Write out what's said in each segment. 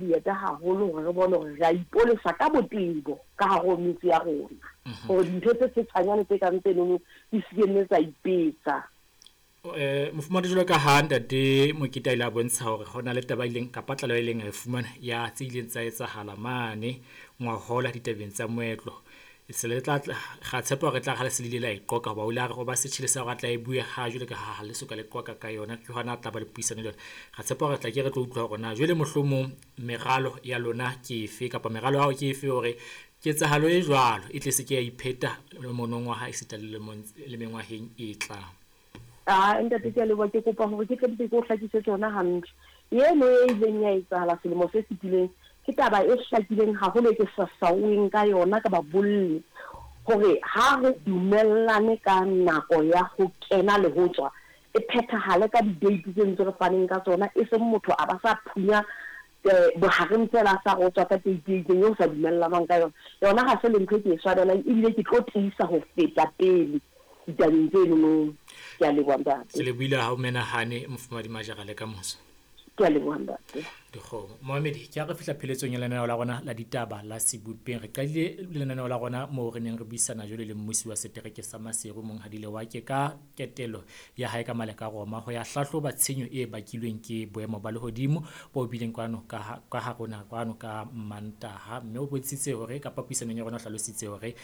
Dieta haholo hore re bone hore re a ipolesa ka botebo ka hare ho metse ya rona, hore dintho tse setshanyane tse kang tsenono di se ke nne tsa ipetsa. Mofumahadi, jwalo ka ha Ntate Mokete a ile a bontsha hore ho na le taba e ileng kapa tlaleho e ileng a e fumana ya tse ileng tsa etsahala mane ngwahola ditabeng tsa moetlo. Se le tla ra tshepa hore tla re ha le se le ile la e qoqa hoba o ile a re o ba setjhele sa hore a tla e bue ha jwale ka ha le soka le qoqa ka yona, ke hona a tla ba le puisano le yona. Ra tshepa hore tla ke re tlo utlwa hore na jwale mohlomong meralo ya lona ke efe kapa meralo ya hao ke efe hore ketsahalo e jwalo e tle se ke ya ipheta monongwaha esita le lemong le mengwaheng e tlang. Aa ntate ke a leboha, ke kopa hore ke tle mpe ke o hlakisetse yona hantle. Eno e ileng ya etsahala selemo se fetileng ke taba e hlakileng haholo e ke sa saoeng ka yona ka babolli hore ha re dumellane ka nako ya ho kena le ho tswa e phethahale ka di-date tse ntse re faneng ka tsona, e seng motho a ba sa phunya bohareng feela a sa re o tswa ka date e itseng eo ho sa dumellanwang ka yona. Yona ha se le ntho e ke e swabelang ebile ke tlo tiisa ho feta pele ditabeng tsenono. Ke a leboha ntate. Ke lebohile ha o menahane Mofumahadi Majara le kamoso. Ke a leboha ntate. Dikgomo. Moamedi, ke ha re fihla pheletsong ya lenaneo la rona la ditaba la Sebopeng. Re qadile lenaneo la rona moo re neng re buisana jwale le mmusi wa setereke sa Maseru Monghadi Lewake ka ketelo ya hae ka male ka Roma ho ya hlahloba tshenyo e bakilweng ke boemo ba lehodimo bo bileng kwano ka ka ha rona kwano ka Mantaha. Mme o bontshitse hore kapa puisanong ya rona o hlalositse hore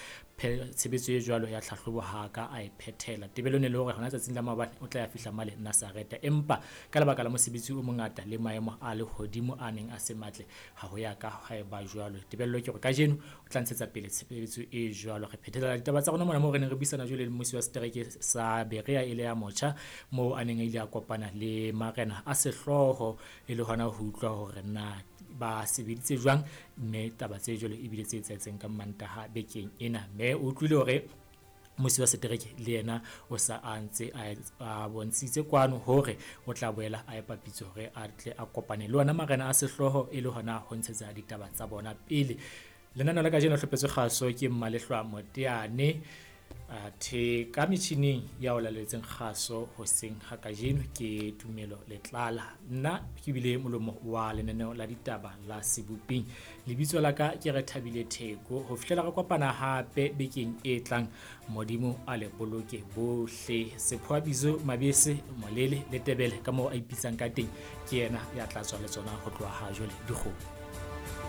tshebetso e jwalo ya tlhahlobo ha a ka a e phethela. Tebelo ne le hore hona tsatsing la maobane o tla ya fihla male Nazareta, empa ka lebaka la mosebetsi o mongata le maemo a lehodimo a neng a se matle ha ho ya ka ha eba jwalo. Tebello ke hore kajeno o tla ntshetsa pele tshebetso e jwalo. Re phethela ditaba tsa rona mona moo re neng re buisana jwale le mmusi wa setereke sa Berea e le ya motjha, moo a neng a ile a kopana le marena a sehlooho e le hona ho utlwa hore na ba sebeditse jwang, mme taba tse jwalo ebile tse etsahetseng ka Mantaha bekeng ena. Mme o utlwile hore mmusi wa setereke le yena o sa a ntse a bontshitse kwano hore o tla boela a epa pitso hore a tle a kopane le ona marena a sehlooho e le hona ho ntshetsa ditaba tsa bona pele. Lenaneo la kajeno hlopetswe kgaso ke Mmalehlwa Moteane, athe ka metjhining ya o laletseng kgaso hoseng ha kajeno ke Tumelo Letlala. Nna ke bile molomo wa lenaneo la ditaba la Seboping. Lebitso la ka ke Rethabile Theko. Ho fihlela re kopana hape bekeng e tlang, Modimo a le boloke bohle. Sephoa Bizo Mabese Molele le Tebele ka moo a ipitsang ka teng, ke yena ya tla tswa le tsona ho tloha ha jwale dikgomo.